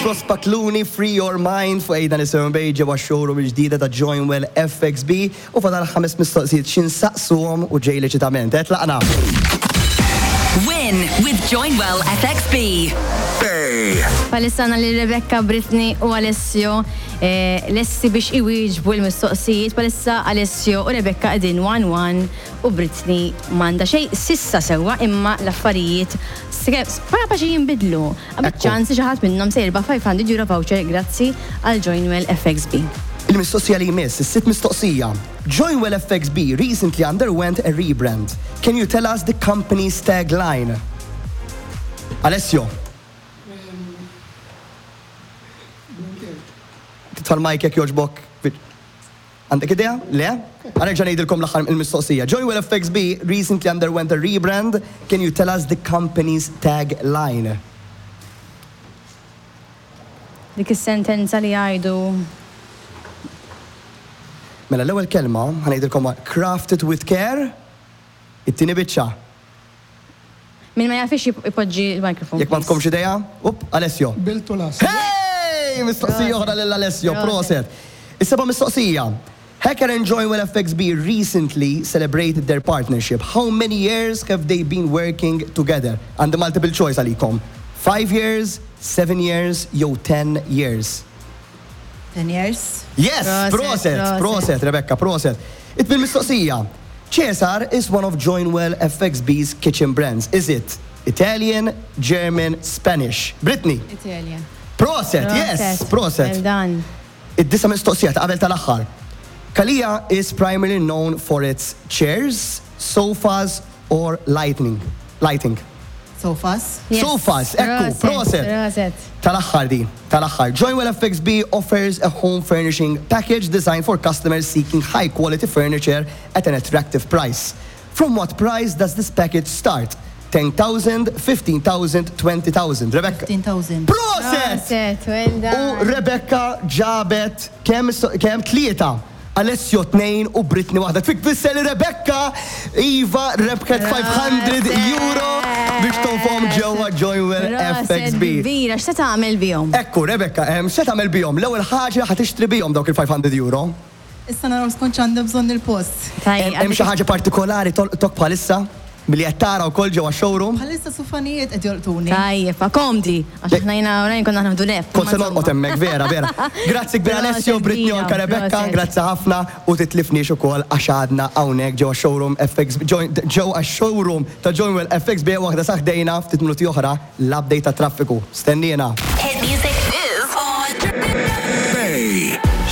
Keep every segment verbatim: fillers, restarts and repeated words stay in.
Prospakluni Free Your Mind fuq Ejda Nisimgħu Bay ġewwa showroom il-ġdida ta' Joinwell F X B u fadal ħames mistoqsijiet x'insaqsuhom u ġej l-eċitament. Tlaqna. Win with Joinwell F X B. Bħalissa għandna li Rebecca, Britney u Alessio eh, lesti biex iwieġbu l-mistoqsijiet. Bħalissa Alessio u Rebecca qegħdin one one u Britney m'għandha xejn s'issa sewwa, imma l-affarijiet kapaċi jinbidlu. Għandek Ekku. ċans li xi ħadd minnhom se jirbaħ five hundred euro voucher grazzi għal Joinwell F X B. Il-mistoqsija li jmiss, is-sitt mistoqsija. Joinwell F X B recently underwent a rebrand. Can you tell us the company's tagline? Alessio. Titfa' l-mic jekk jogħġbok. Għandek idea? Le? Ħa nerġa' ngħidilkom l-aħħar il-mistoqsija. Joinwell F X B recently underwent a rebrand. Can you tell us the company's tagline? Dik is-sentenza li jgħidu. Mela l-ewwel kelma ħa ngħidilkom, "crafted with care". It-tieni biċċa. Min ma jafx ipoġġi l-mikrofon. Jekk ma tkomx idea, up, Alessio. Built to last. Hey! Mistoqsija oħra lil Alessio, Proset. Proset. Is-seba' mistoqsija. Hacker and Joinwell F X B recently celebrated their partnership. How many years have they been working together? And the multiple choice għalikom. Five years, seven years, jew ten years. ten years. Yes, Proset, proset, proset. Proset, Rebecca, proset. It-tmien mistoqsija. Cesar is one of Joinwell F X B's kitchen brands. Is it Italian, German, Spanish? Brittany. Italian. Proset, yes, proset. Well done. Id-disa' mistoqsija ta' qabel tal-aħħar. Kalia is primarily known for its chairs, sofas or lightning. Lighting. Sofas. Yes. Sofas, ekku, proset. Proset. Tal-aħħar di, tal-aħħar. Joinwell F X B offers a home furnishing package designed for customers seeking high quality furniture at an attractive price. From what price does this package start? ten thousand, fifteen thousand, twenty thousand. Rebecca. fifteen thousand. Proset! Proset, well U done. Rebecca ġabet kemm kemm tlieta. Alessio tnejn u Britney waħda. Tfisser li Rebecca Iva rebħet five hundred euro biex tonfoqhom ġewwa Joinwell Proset F X B. kbira, x'se tagħmel bihom? Ekku, Rebecca, em, x'se tagħmel bihom? L-ewwel ħaġa ħa tixtri bihom dawk il-five hundred euro. Issa naraw skont x'għandha bżonn il-post. Tajjeb. Hemm xi ħaġa partikolari tolqtok bħalissa milli qed tara wkoll ġewwa showroom? Bħalissa sufanijiet qed jolqtuni. Tajjeb, fa komdi. Għax aħna jiena u Ryan konna naħdu nef. Kont se norqod hemmhekk, vera, vera. Grazzi kbir Alessio, Britney u anka Rebecca, grazzi ħafna u titlifniex ukoll għax għadna hawnhekk ġewwa showroom F X ġewwa showroom ta' Joinwell F X B waħda sa ħdejna. Ftit minuti oħra l-update ta' traffiku. Stennina. Hit music is on.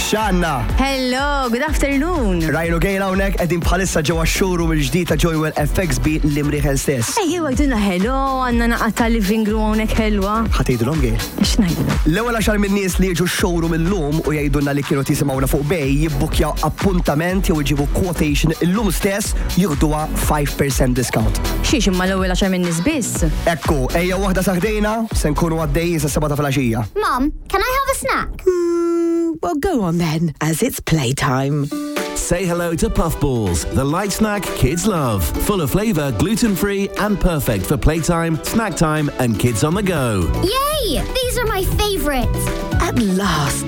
Xanna. Hello, good afternoon. Ryan u Gail hawnhekk qegħdin bħalissa ġewwa showroom il-ġdid ta' Joinwell F X B l-Imrieħel stess. Ejjew għidulna hello, għandna naqra ta' living room hawnhekk ħelwa. Ħa tgħidulhom, Gail? X'ngħidulhom? L-ewwel għaxar minn nies li jiġu showroom illum u jgħidulna li kienu jisimgħuna fuq Bay, jibbukkjaw appuntament jew iġibu quotation illum stess, jieħduha five percent discount. Xiex, imma l-ewwel għaxar minn nies biss? Ekku, ejja waħda sa ħdejna, se nkunu għaddejjin sa seba ta' filgħaxija. Mum, can I have a snack? Mm, well, go on then, as it's playtime. Say hello to Puffballs, the light snack kids love. Full of flavour, gluten free, and perfect for playtime, snack time, and kids on the go. Yay! These are my favourites. At last,